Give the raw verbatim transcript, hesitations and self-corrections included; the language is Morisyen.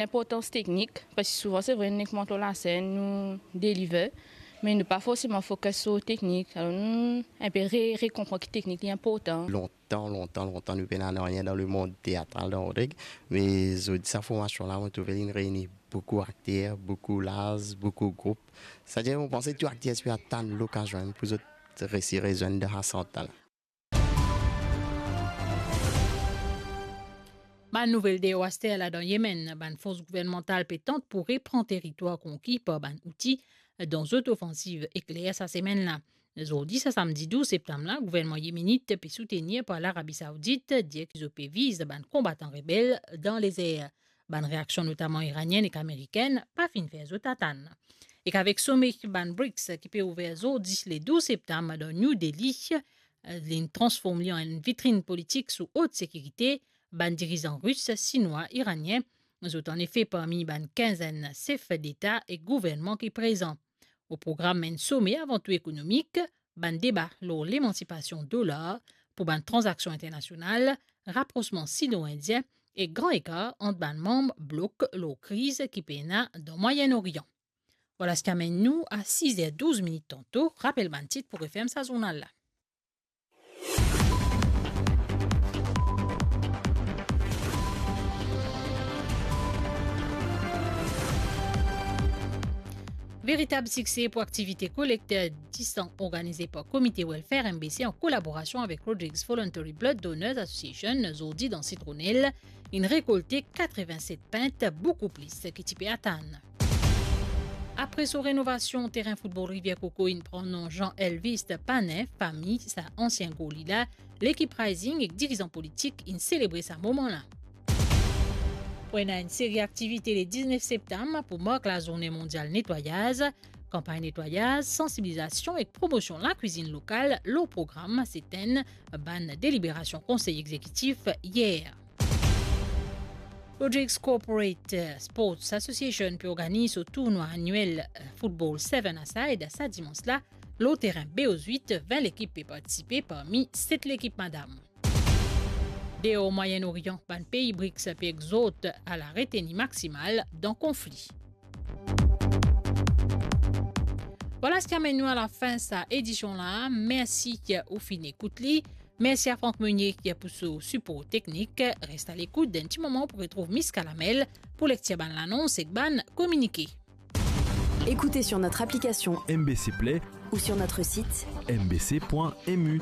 Linportans teknik, parski souvan se vre, nou nek mont lor lasenn, nou deliver, me nou pa forseman focus lor teknik. Alor nou inpe re-, rekonpran ki teknik li inportan. Lontan, lontan, lontan, nou pena nanye dan lemond teatral dan Rodrig, me zordi sa formasion la, mo trouve li reini boukou akter, boukou laz, boukou group. Setadir, mo panse tou akter ti pe atann lokazion pou zot resi rezwenn dan sa sant la. Bann nouvel deor aster la dan Yemenn, bann fors gouvernmantal pe tant pou repran teritwar konki par bann Houthi dan zot ofansiv ekler sa semenn la. Zordi, sa samdi douz septam la, gouvernman yemenit pe soutenir par Larabi Saoudit, dir ki zot pe viz bann konbatan rebel dan lezer. Bann reaksion, notaman iranienn ek amerikenn, pa finn fer zot atann. Ek avek some bann briks ki pe ouver zordi le douz septam dan New Delhi, linn transform li an enn vitrinn politik sou ot sekirite, bann dirizan ris, sinwa, iranien, zot anefe parmi bann kinzenn sef deta ek gouvernman ki prezan. Lor program enn some avan tou ekonomik, bann deba lor lemansipasion dolar pou bann tranzaksion internasional, raprosman sino-indien ek gran ekar ant bann manm blok lor kriz ki pena dan Mwayen Orian. Vwala seki amenn nou a siz er douz minit tanto. Rapel bann tit pou referm sa zournal la. Veritab sikse pou aktivite kolekt disan organize par Komite Welfare M B C an kolaborasion avek Rodrigues Voluntary Blood Donors Association zordi dan Sitronel, inn rekolte katrevinset pint, boukou plis ki ti pe atann. Apre so renovasion, terin foutbol Rivier Coco inn pran non Jean Elvis Panin, fami sa ansien goli la. Lekip Rising ek dirizan politik inn selebre sa moman la. Pou ena enn seri aktivite le diznef septam pou mark Lazourne Mondial Netwayaz. Kanpagn netwayaz, sansibilizasion ek promosion lakwizinn lokal lor program, se tem bann deliberasion Konsey Egzekitif yer. Rodrigues Corporate Sports Association pe organiz so tournwa aniel, eh, football seven-a-side sa dimans la, lor terin B O Z uit, vin lekip pe partisipe parmi set lekip madam. Deor Mwayen Orian, bann pei briks pe egzort a la reteni maksimal dan konfli. Vwala seki amenn nou a lafin sa edision la. Mersi ki ou finn ekout li. Mersi a Franck Meunier ki pou so sipor teknik. Res a lekout, dan enn ti moman pou retrouv Miss Kalamel pou lektir bann lanons ek bann kominike. Écoutez sur notre application M B C Play ou sur notre site M B C point M U.